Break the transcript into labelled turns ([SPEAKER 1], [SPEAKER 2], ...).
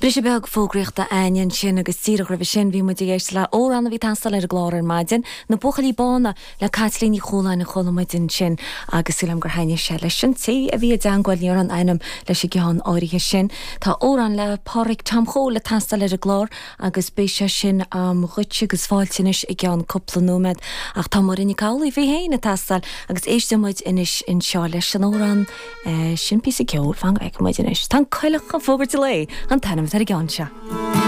[SPEAKER 1] Briseadh beag fógraíochta againn ansin agus díreach roimhe sin bhí muid ag éisteacht le amhrán a bhí ag teastáil ar an gclár ar maidin, Na Buachaillí Bána le Caitlín Ní Chualáin a chuala muid ansin agus súil agam gur thaitnigh sé leis an té a bhí i dteangmháil, ní raibh aon ainm leis an gceann áirithe sin. Tá amhrán le Pádraig Tom Chóil ag teastáil ar an gclár agus beidh sé sin a'm dhuit agus fáilte anois i gceann cúpla nóiméad ach tá Máire Nic Amhlaoibh í féin ag teastáil agus éistfidh muid anois anseo leis an amhrán Sin píosa ceoil, fan go bhfeicfidh muid anois. Tá an Coileach ag fógairt an lae, an t-ainm atá ar an gceann seo.